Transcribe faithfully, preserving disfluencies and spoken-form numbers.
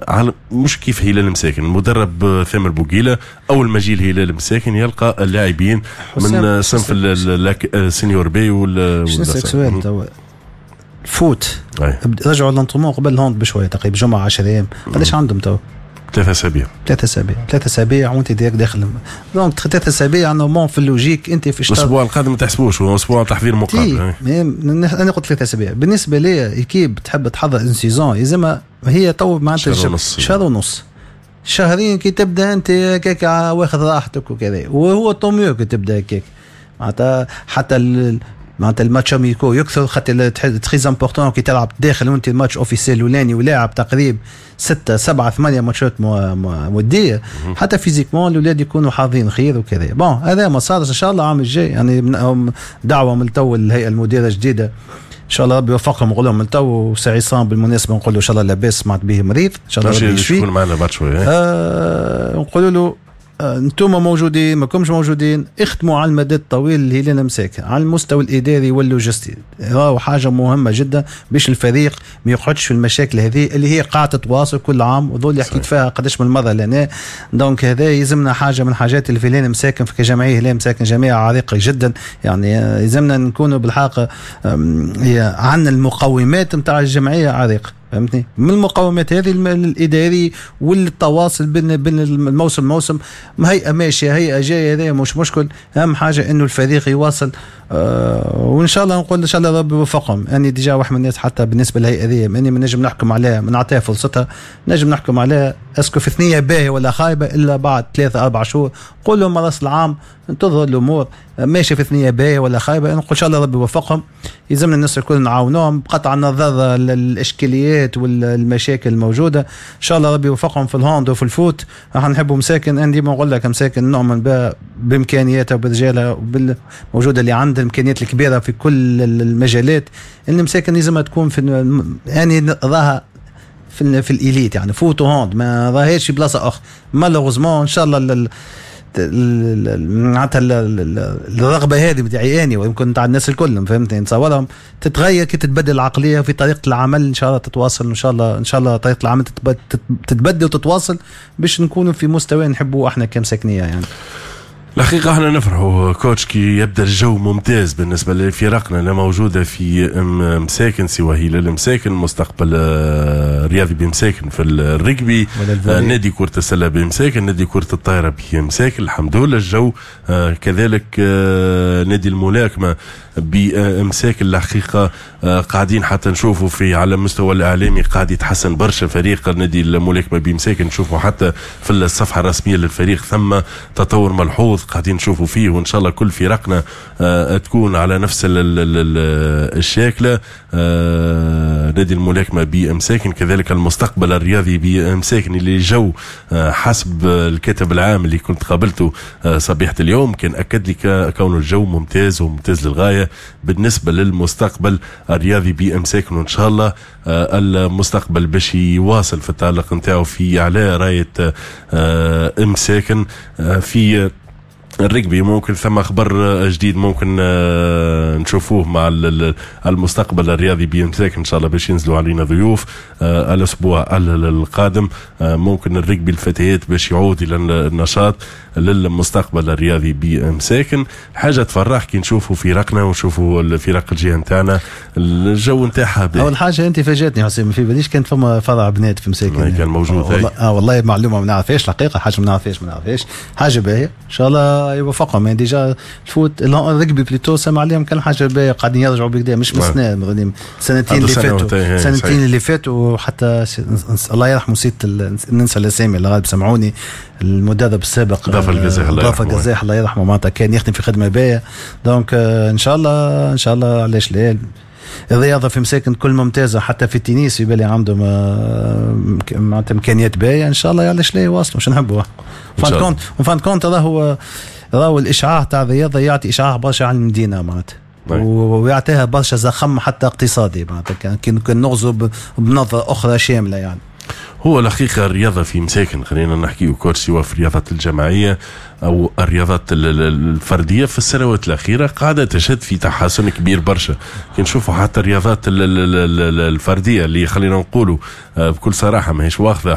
على مش كيف هلال مساكن، المدرب ثامر بوقيله اول ما جي الهلال مساكن يلقى اللاعبين من صنف ال senior B وال نسألك سؤال توا، foot رجعوا l'entraînement قبل ال hand بشويه، تقريبا جمعه، عشرة ايام، قداش عندهم تو؟ ثلاثة اسابيع. ثلاثة اسابيع، ثلاثة اسابيع وانت direct داخل، donc ثلاثة اسابيع normalement في ال logique انت في الاسبوع القادم ما تحسبوش، هو اسبوع تحضير مقابل. انا قلت ثلاثة اسابيع بالنسبة لي équipe تحب تحضر une saison يلزمها هي تو معناتها شهر ونص. شهر ونص، شهرين كي تبدا انت هكاك واخذ راحتك وكذا، وهو tant mieux كي تبدا هكاك، معناتها حتى معناتها ال matchs amicaux يكثر، خاطر très important كي تلعب داخل وانت ال match officiel الاولاني ولاعب تقريب ستة سبعة ثمانية ماتشات ودية، حتى physiquement الاولاد يكونوا حاضرين خير وكذا. bon، هذا ما صارش. ان شاء الله العام الجاي، يعني دعوة من تو الهيئة المديرة الجديدة، ان شاء الله ربي يوفقهم. نقول لهم من تو، وسي عصام بالمناسبة نقول له ان شاء الله لاباس، سمعت به مريض، ان شاء الله ربي يشفيه. يكون معنا بعد شوية. آه نقول له آه، انتم موجودين ما كمش موجودين، اخدموا على المدى الطويل الهلال مساكن على المستوى الاداري واللوجستي، راهو حاجة مهمة جدا باش الفريق ما يقعدش في المشاكل هذه اللي هي قاعدة تتواصل كل عام وذو اللي حكيت فيها قداش من مرة لنا. donc هذا يلزمنا حاجة من حاجات اللي في الهلال مساكن في كجمعيه، هلال مساكن جمعية عريقة جدا، يعني آه، يلزمنا نكونوا بالحق عندنا المقومات نتاع الجمعية عريقه، فهمتني؟ من المقومات هذه الاداري والتواصل بين بين الموسم موسم، هيئة ماشيه، هيئة جايه، هذا مش مشكل. اهم حاجة انه الفريق يواصل آه وان شاء الله نقول ان شاء الله ربي يوفقهم. يعني déjà واحد من الناس حتى بالنسبة للهيئة هذه ماني ما نجم نحكم عليها، ما نعطيها فرصتها نجم نحكم عليها est-ce que في ثنيه باهيه ولا خايبة الا بعد ثلاثة اربع شهور. قول لهم راس العام تظهر الامور ماشية في ثنيه باهيه ولا خايبه. نقول ان شاء الله ربي يوفقهم. يلزمنا الناس الكل نعاونوهم بقطع النظر الاشكاليات والمشاكل الموجوده. ان شاء الله ربي يوفقهم في ال hand وفي ال foot. راح نحبوا مساكن، انا ديما نقول لك مساكن نؤمن بها بامكانياتها وبرجالها وبالموجوده اللي عندها الامكانيات الكبيرة في كل المجالات. المساكن لازم تكون في، يعني راها في, في l'élite، يعني foot و hand، ما راهيش في بلاصة اخرى malheureusement. ان شاء الله معناتها الرغبة هذه بتاعي اني ويمكن تاع الناس الكل، فهمتني، نتصورهم تتغير كي تتبدل العقلية في طريقه العمل. ان شاء الله تتواصل، ان شاء الله، ان شاء الله طريقه العمل تتبدل وتتواصل باش نكونوا في مستوى نحبوه احنا كمساكنيه يعني. الحقيقة احنا نفرحوا coach كي يبدا الجو ممتاز بالنسبة لفرقنا اللي موجودة في مساكن، سواء هلال مساكن، مستقبل الرياضي بمساكن في الرجبي، نادي كرة السلة بمساكن، نادي كرة الطائرة بمساكن. الحمد لله الجو آه، كذلك آه، نادي الملاكمة بمساكن. الحقيقة آه، قاعدين حتى نشوفوا في على المستوى الإعلامي قاعد يتحسن برشا فريق نادي الملاكمة بمساكن، نشوفوا حتى في الصفحة الرسمية للفريق ثم تطور ملحوظ قاعدين نشوفوا فيه، وان شاء الله كل فرقنا آه، تكون على نفس الشاكله. آه، نادي الملاكمة بمساكن، كذلك المستقبل الرياضي بمساكن اللي جو آه، حسب الكاتب العام اللي كنت قابلته صبيحة اليوم كان اكد لي كون الجو ممتاز وممتاز للغاية بالنسبة للمستقبل الرياضي بمساكن، وان شاء الله المستقبل باش يواصل في التألق نتاعو في على رايه مساكن في الرجبي. ممكن ثم خبر جديد ممكن آه، نشوفوه مع المستقبل الرياضي بيمساكن، ان شاء الله باش ينزلوا علينا ضيوف آه، الاسبوع القادم. آه، ممكن الرجبي الفتيات باش يعود الى النشاط للمستقبل الرياضي بمساكن. حاجة تفرح كي نشوفوا فرقنا ونشوفوا الفرق الجهة نتاعنا الجو نتاعها. اول حاجة انت فاجاتني حسين، في باليش كانت فما فرع بنات في مساكن. كان موجود. والله اه والله معلومة ما نعرفهاش الحقيقه، حاجة ما نعرفهاش ما نعرفهاش. حاجة باهيه، ان شاء الله يوفقهم. يعني déjà ال foot، ال rugby plutôt، سمع عليهم كان حاجة باهيه، قاعدين يرجعوا بكدا مش من سنه، سنتين اللي فاتوا، سنتين اللي فاتوا. حتى الله يرحمه، نسيت ننسى الاسامي اللي غالب سمعوني، المدرب السابق ضافر القزاح. الله ضافر القزاح الله يرحمه، معناتها كان يخدم في خدمة باهيه. donc ان شاء الله، ان شاء الله، علاش لا؟ الرياضة في مساكن كل ممتازه، حتى في التنس في بالي عندهم آه، معناتها امكانيات باهيه. ان شاء الله، علاش لا؟ يواصلوا، مش نحبوا fin de compte fin de compte راهو راهو الاشعاع تاع الرياضة يعطي اشعاع برشا على المدينة معناتها ويعطيها برشا زخم حتى اقتصادي، معناتها كي نغزو بنظره اخرى شاملة يعني. هو الحقيقة الرياضة في مساكن، خلينا نحكي coach، سواء في الرياضات الجماعية أو الرياضات الفردية، في السنوات الأخيرة قاعدة تشهد في تحسن كبير برشا. كي نشوفوا حتى الرياضات الفردية اللي خلينا نقولوا آه، بكل صراحة ماهيش واخذة